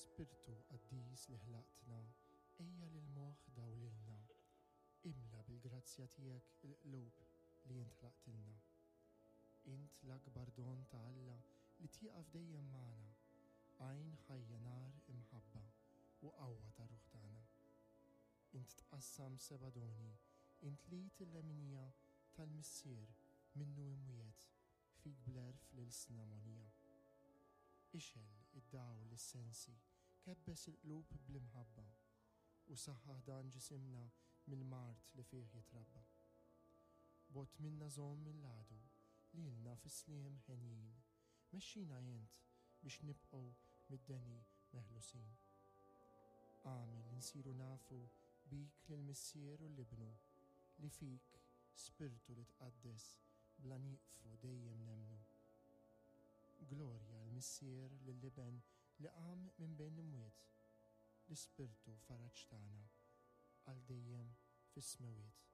Spirtu qaddis li ħlaqtna, ejja lill-moħħ dawlilna. Imla bil-grazzja tiegħek il-qlub li int ħlaqtilna. Int l-akbar don ta' Alla li tieqaf dejjem magħna, għajn ħajja nar imħabba u qawwa tar-ruħ tagħna. Int tqassam seba' doni, int l-id il-leminija tal-Missier minnu imwiegħed Fik bl-għerf l-ilsna mogħnija. Ixgħel id-dawl lis-sensi, kebbes il-qlub bl-imħabba, u saħħaħ dan ġisimna mill-mard li fih jitrabba. Bogħod minna żomm mill-għadu, lilna fis-sliem henjin, mexxina int biex nibqgħu mid-deni meħlusin. Agħmel li nsiru nafu bik lill-Missier u l-Ibnu, li fik, Spirtu li tqaddes, Bla nieqfu dejjem nemmnu. Glorja l-Missier lill-Iben li qam minn bejn l-imwiet, l-Ispirtu faraġ tagħna għal dejjem fis-smewwiet.